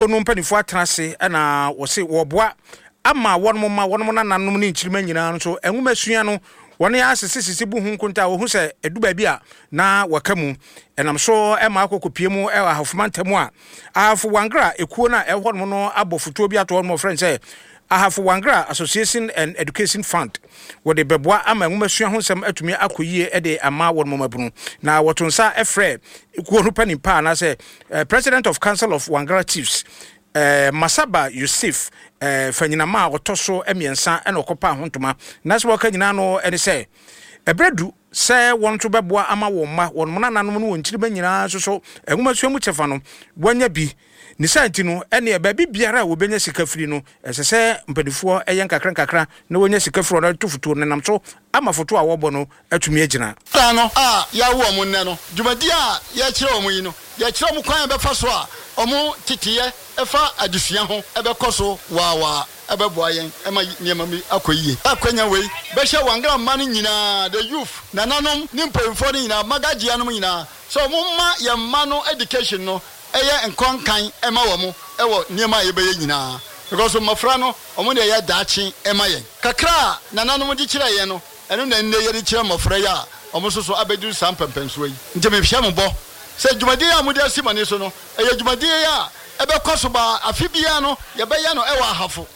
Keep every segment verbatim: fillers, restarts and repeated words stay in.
No mpanimfoɔ atena ase ɛna wɔse wɔboa ama wɔn ma wɔn nananom ne nkyirima nyinaa nso nwoma sua no, wɔn asesesese bu ho nkonta a wɔhu sɛ ɛdu baabi a na wɔka mu ɛnam so ɛma akɔkɔpie mu ɛwɔ Ahafoma ntam a Ahafo Wangra ekuo no a ɛwɔ hɔnom no abɔ fotuo bi ato hɔnom, wɔfrɛ no sɛ Ahafo Wangra Association and Education Fund. Wɔde bɛboa ama nwomasua ho nsɛm atumi akɔ yie de ama wɔn mmabunu, na wɔto nsa frɛ kuo no panin pa anaasɛ eh, President of Council of Wangra Chiefs, eh, Masaba Yusuf eh, Fanyinama a ɔtɔ so mmiɛnsa, ɛna ɔkɔpa ho ntoma na sɛ wɔka nyinaa no ɛne sɛ ɛberɛ du sɛ wɔn nso bɛboa ama wɔn mma, wɔn nananom no, wɔn nkyirima nyinaa nso so nwomasua mu kyɛfa no wɔanya bi. Ne saa nti no, ɛneɛ baabi biara a wɔbɛnya sika firi no, ɛsɛ sɛ mpanimfoɔ ɛyɛ nkakra nkakra na wɔnya sika firi ɔno to fotuo no nam so ama foto a wɔbɔ no atumi agyina. Da no a yɛawo ɔmo nnɛ no, dwumadi a yɛkyerɛ ɔmo yi no, yɛkyerɛ ɔmo kwan a ɛbɛfa so a ɔmo teteyɛ ɛfa adesua ho ɛbɛkɔ so waawaa, ɛbɛboa yɛn ɛma nneɛma bi akɔ yie. Akwanya wei bɛhyɛ Wangra mma no nyinaa, the youth, nananom ne mpanyinfoɔ no nyinaa, magagyea nom nyinaa, sɛ ɔmo ma yɛn mma no education no ɛyɛ nkɔnkan ɛma wɔn ɛwɔ nneɛma a yɛbɛyɛ nyinaa, because mmɔfra no, ɔmo deɛ yɛ daakye ɛma yɛn. Kakra a nananom de kyerɛ yɛn no, ɛno na nnɛ yɛde kyerɛ mmɔfra yi a ɔmo nso so abɛduru saa mpɛmpɛnsoɔ yi. Nti mehwɛ mo bɔ sɛ dwumadie a mode asi mo ani so no, ɛyɛ dwumadie a ɛbɛkɔ so baa afe biara no, yɛbɛyɛ no ɛwɔ Ahafo.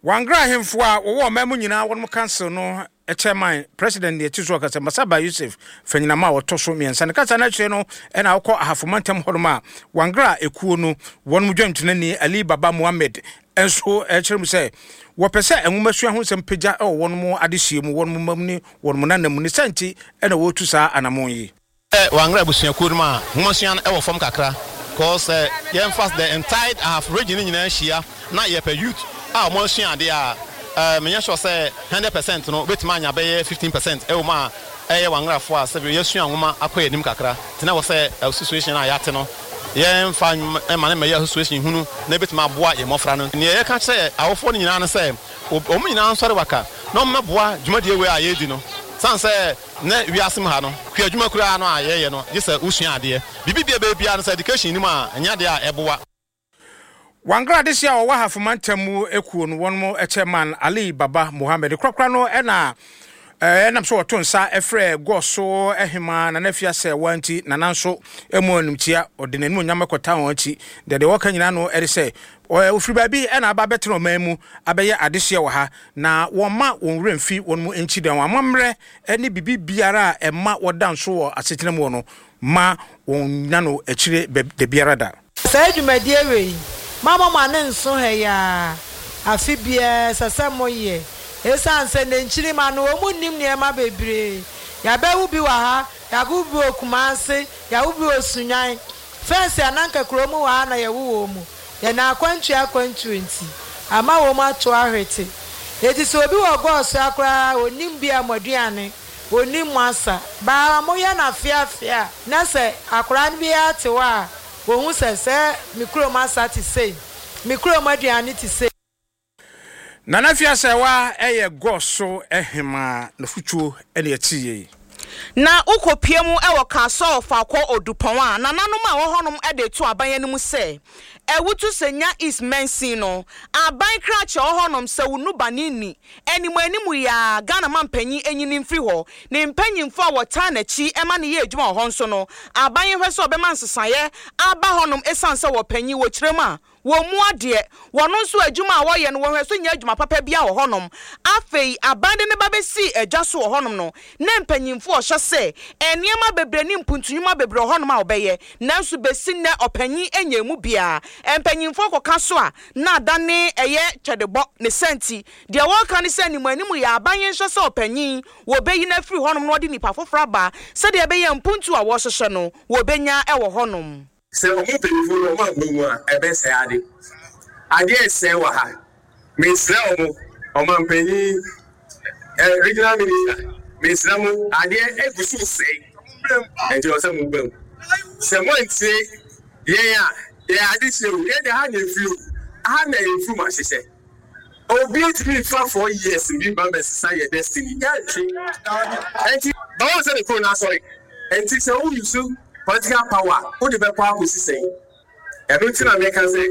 Wangra ahemfo a wɔwɔ ɔman mu nyinaa wɔn council no chairman, president deɛ ti so ɔkasa, Masaba Yusuf Fanyinama a ɔtɔ so mmiɛnsa, ne kasa no akyerɛ no ɛna ɔkɔ Ahafo mantam hɔnom a Wangra ekuo no wɔn dwantenani Ali Baba Muhammed nso ɛkyerɛ mu sɛ wɔpɛ sɛ nwomasua ho nsɛm pagya ɛwɔ wɔn mu adehyia mu, wɔn mu mam ne wɔn mu nanam mu. Ne sɛ nti ɛna wɔretu saa anammɔn yi. Wangra abusuakuo no mu a nwomasua no ɛwɔ fam kakra, cause sɛ yɛmfa the entire Ahafo region no nyinaa hyia na yɛpɛ youth a wɔn asua adeɛ a, ɛɛ menyɛ sure sɛ hundred percent no wobɛtumi anya bɛyɛ fifteen percent ɛwɔ mu a ɛyɛ Wangrafoɔ a sɛbi yɛsua nwoma akɔ anim kakra. Tena wɔ sɛ association a yɛate no, yɛmfa ɛma ne mɛyɛ association hunu na ebɛtumi aboa yɛn mmɔfra no. Nea yɛka kyerɛ awofoɔ no nyinaa no sɛ wɔn nyinaa nsɔre waka na wɔn mɛboa dwumadie wei a yɛredi no, san sɛ ne wiase mu ha no, kua adwuma koraa no a yɛyɛ no, gye sɛ wosua adeɛ. Biribi bia bɛyɛ biara no, sɛ education nim a, ɛnyɛ adeɛ a ɛboa. Wangra adehye a ɔwɔ Ahafo ntam mu ekuo no wɔn mo chairman Ali Baba Mohammed korakora no ɛna ɛnam so wɔto nsa ɛfrɛ Gɔso ɛhema Nana Afia sɛ wɔnti nana nso ɛmu animtia ɔde n'anim onyam ɛkɔta wɔn akyi. Deɛ deɛ wɔka nyinaa no ɛde sɛ ofiri baabi ɛna aba abɛtena ɔman mu abɛyɛ adehyeɛ wɔ ha, na wɔn ma wɔn werɛ mfi wɔn mu nkyi dan wɔn amammerɛ ɛne biribi biara a ɛma wɔda nso wɔ asetena mu wɔ no ma wɔn nya no akyire da biara da. Saa dwumadie wei, mama mo ane nso ha yi a, afe biara ɛsɛ sɛ moyɛ, ɛsiane sɛ ne nkyirima no wɔn mu nnim nneɛma bebree. Yɛabɛwo bi wɔ ha, yɛawo bi wɔ Kumase, yɛawo bi wɔ Sunyan fɛnsi ananka kurom wɔ ha na yɛwo wɔ mu. Yɛn akwantuo akwantuo nti ama wɔn ato ahwete. Eti sɛ obi wɔ gɔɔso akoraa, onim bi a mo aduane, onim mo asa baa moyɛ no afeafea na sɛ akwaraa no bi ate hɔ a, wɔhu sɛ sɛ me kurom asa te sei, me kurom aduane te sei. Nana Fiasɛwa ɛyɛ Gɔso ɛhema n'afutuo ɛne ɛte yie. Na wokɔpie mu ɛwɔ Kasoa Ɔfaakɔ Odupɔn a nananom a wɔwɔ hɔnom de to aban anim sɛ Awutu Senya East mansin no aban krakye wɔ hɔnom sɛ wo nuba ne ni anim anim yi a Ghana ma mpanyin enyini mfiri hɔ ne mpanyinfo a wɔtaa n'akyi ɛma ne yɛ adwuma wɔ hɔ nso no, aban hwɛ sɛ ɔbɛma nsesaeɛ aba hɔnom, esiane sɛ wɔpanyin wɔ kyerɛ mu a wɔn mu adeɛ wɔn nso adwuma a wɔyɛ no, wɔhwɛ so nyɛ adwuma papa bi a wɔ hɔnom. Afei aban de ne ba bɛsi adwa so wɔ hɔnom no, na mpanyinfo ɔhyɛ sɛ nneɛma bebree ne mpuntunwuma bebree wɔ hɔnom a wɔbɛyɛ, nanso besi nnɛ ɔpanyin anya emu biara. Mpanyinfoɔ kɔka so a na adane ɛyɛ twɛdebɔ ne sɛnti deɛ wɔreka ne sɛ anim anim yɛ aban yɛn nhyɛ sɛ ɔpanyin wɔbɛyi no afiri hɔnom na wɔde nipa foforɔ aba, sɛdeɛ ɛbɛyɛ mpuntu a wɔrehyehyɛ no wɔbɛnya ɛwɔ hɔnom. Sɛ ɔmo mpanyinfoɔ no ɔmo aba mu a, ɛbɛsɛe ade. Adeɛ ɛsɛe wɔ ha. Mesrɛ ɔmo, ɔmampanyin, ɛ regional minister, mesrɛ mo, adeɛ egu so sɛe, nti ɔsɛ mo ba mu. Sɛ mo antie yɛn a yɛn ade hyɛ o, yɛn de ha na efiri o, ha na yɛn furu mu ahyehyɛ. Obi ntumi nfa four years bi ba bɛsesa yɛ destiny, yɛntwe. Nti báwo sɛ ne kuro n'asɔre nti sɛ o use political power o de bɛkɔ akɔsi sɛn? Ɛno nti na meka sɛ